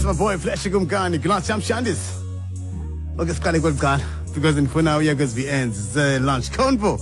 That's my boy Flash Kumkani, Glass Shandis. Okay, siqale kweli cala because ndifuna uya kwezi VNs ze-lunch convo.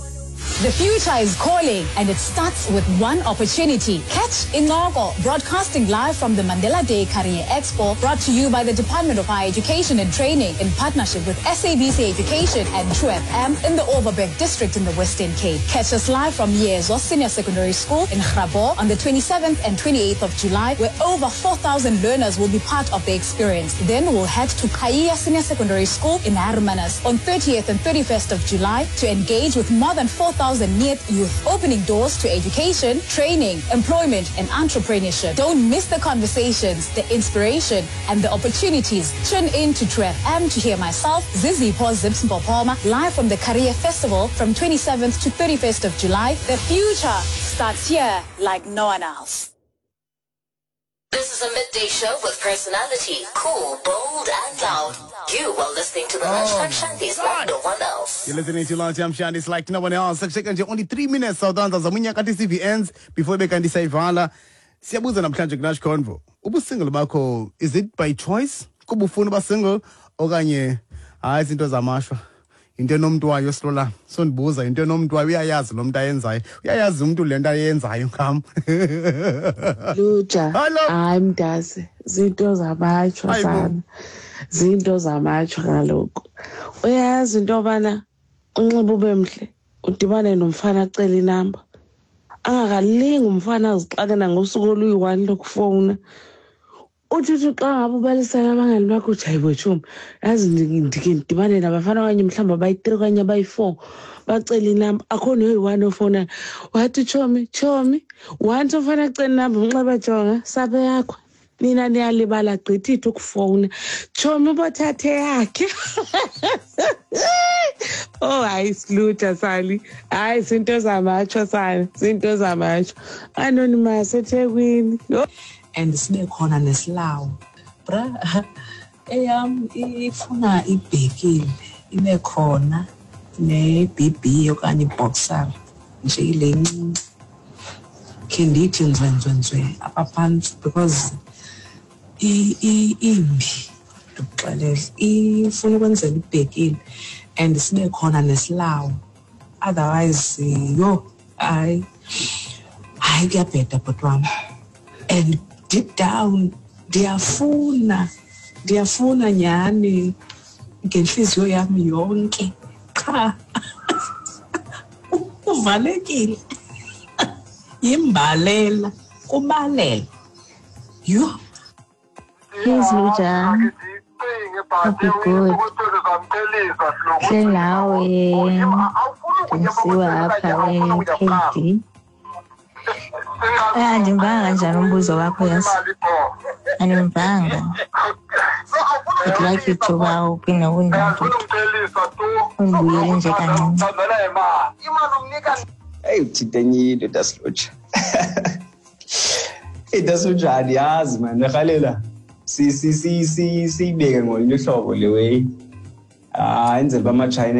The future is calling, and it starts with one opportunity. Catch Incoko, broadcasting live from the Mandela Day Career Expo, brought to you by the Department of Higher Education and Training in partnership with SABC Education and True FM in the Overberg District in the Western Cape. Catch us live from Yezo Senior Secondary School in Grabouw on the 27th and 28th of July, where over 4,000 learners will be part of the experience. Then we'll head to Kaya Senior Secondary School in Hermanus on 30th and 31st of July to engage with more than 4,000 NEET youth, opening doors to education, training, employment, and entrepreneurship. Don't miss the conversations, the inspiration, and the opportunities. Tune in to True FM to hear myself, Zizi Zips Mpopoma, live from the Career Festival from 27th to 31st of July. The future starts here like no one else. This is a midday show with personality, cool, bold, and loud. You are listening to the Lunchtime Shandies like no one else. You're listening to Lunchtime Shandies like no one else. Sekusheka nje only 3 minutes sawutanza zamunyaka kanti CVNs before bekanti sayivala. Siyabuza namhlanje ku-Lunch Convo. Ubusingle bakho, is it by choice? Kuba ufuna uba single okanye hayi izinto zamashwa? Into enomntu wayo silola. So ndibuza into enomntu wayo, uyayazi lo mntu ayenzayo. Uyayazi umntu le nto ayenzayo ngam. Luja. Hello. Hayi mntase, zinto zamatshwa Hayibo. sana. Zinto zamatshwa kaloku. Uyayazi into yobana unxibe ube mhle, udibane nomfana acele inamba. Angakalingi umfana azixakena ngosuku oluyi-1 lokufowuna. Uthi uthi xa ngabe ubalisela abangani bakho uthi hayi bo tshomi, yazi ndike ndidibane nabafana okanye mhlawumbi abayi-3 okanye abayi-4 bacela inamba, akho noyi-1 ofowunayo. Wathi tshomi, tshomi, once umfana acela inamba umnxeba jonga saphe yakho. Nina niyalibala gqithi ithi ukufowuna. Tshomi ubothathe yakhe. Oh hayi silutha sali. Hayi zinto zamatsho sali, zinto zamatsho. Anonymous eThekwini. Yho. And sibe khona nesilawu. Bra, eyam ifuna ibhekile ibe khona ne-BB okanye iboxer nje ile ncinci. Khe ndithi nzwe nzwe nzwe apha phantsi because imbi, ndikuxelele. Ifuna ukwenzela ibhekile and sibe khona nesilawu. Otherwise, yho, hayi, hayi kuyabheda bhuti wam. And deep down ndiyafuna, ndiyafuna nyhani ngentliziyo yam yonke qha uvalekile. Yimbalela, kubalela. Yho. Please, Luja. Hope you're good. Hle nawe ndisiwa apha e-KD. Andimvanga kanjani umbuzo wakho yazi? Andimvanga. I'd like you to uba uphinde undibuyele nje kancinci. Hey, uthinte enye into Dasluja. Hey Dasluja, andiyazi man, ndirhalela siyibeke ngolunye uhlobo le way. Ah, enzela uba amaTshayina